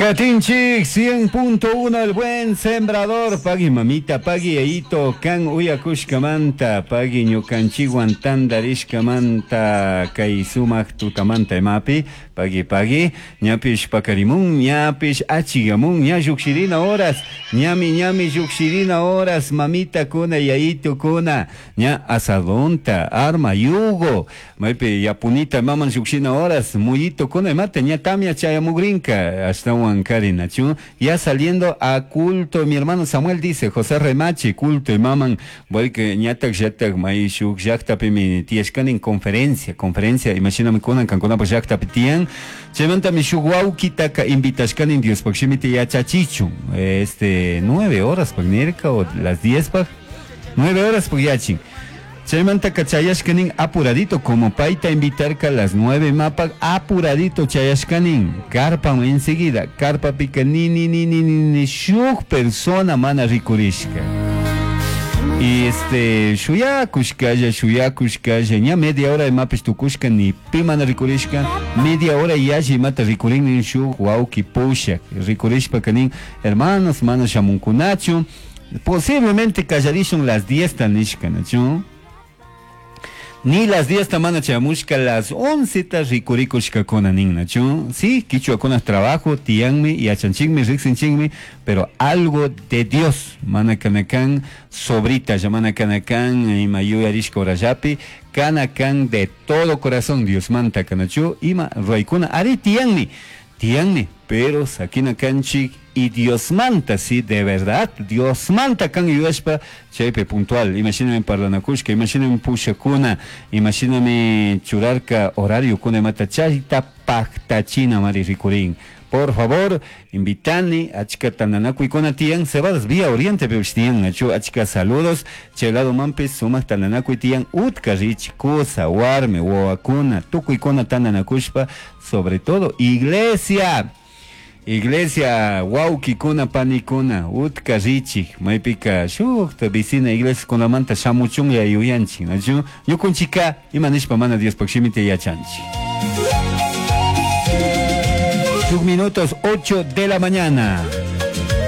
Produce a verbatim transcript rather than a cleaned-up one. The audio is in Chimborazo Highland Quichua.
Katinchik cien punto uno, El Buen Sembrador. Pagui, mamita, pagui, yayito, kan uyakushkamanta, pagui ñukanchikwan tandarishkamanta kay sumak tutamanta imapi, pagui, pagui. Ñapish pakarimun, ñapish achigamun, ña llukshirina horas, ñami ñami llukshirina horas, mamita kuna, yayito kuna, ña azadonta, arma, yugo, maypi yapunita maman llukshina horas, muyito kuna imata, ña tamia chayamugrinka, ashtawan karinachu, ya saliendo a culto. Mi hermano Samuel dice, José Remache, culto imaman, porque ñatak llatak may shuk llaqtapimi tiyashkani conferencia, conferencia, imashinami kunan kankunapak llaqtapi tiyan, chaymantami shuk wawkitaka invitashkani Diospaq shimita yachachichun, este, nueve horas pak nirka o las diez pak, nueve horas pak yachin. Chaymantaka chayashkanin apuradito, como payta invitarka las nueve mapak, apuradito chayashkanin carpa. Enseguida carpapika ni ni ni ni ni ni shuk persona mana rikurishka. Y este, shuyakushkalla, shuyakushkalla, ña media hora imapish tukushka, ni pi mana rikurishka. Media hora yalli imata rikurin shuk wawki pushak. Rikurishpaka nin: "Hermanos, mana shamunkunachu, posiblemente kallarishun las diez", ta nishka, nachu? Ni las diez ta mana chayamushka, las once ta rikurikushkakuna nin, nachu? Sí, kichwakuna trabajo tiyanmi, yachanchikmi, riksinchikmi, pero algo de Dios mana kanakan sobrita, ya mana kanakan ima yuyarishka horallapi, kanakan de todo corazón Dios manta kanachu ima ruwaykuna ari tiyanmi, tiyanmi, pero sakina kanchik y Dios manta, sí, de verdad, Dios manta kan yuyashpa chaypi puntual, imashinami parlanakushka, imashinami pushakuna, imashinami churarka horario kuna imata, chayta paktachina mari rikurin. Por favor, invitani, achka tandanakuykuna tiyan, Cebadas Vía Oriente pipish tiyan, nachu? Achka saludos, chay lado manpish sumak tandanakuy tiyan, utka rich, kusa, warmi, wawakuna, tukuykuna tandanakushpa, sobre todo, iglesia. Iglesia, wawkikuna, panikuna, utka richik, maypika shukta vecina iglesia kunamanta shamuchunlla yuyanchik, nachu? Ñukunchika, ima nishpa mana Diospaq shimita yachanchik. Shuk minutos, ocho de la mañana.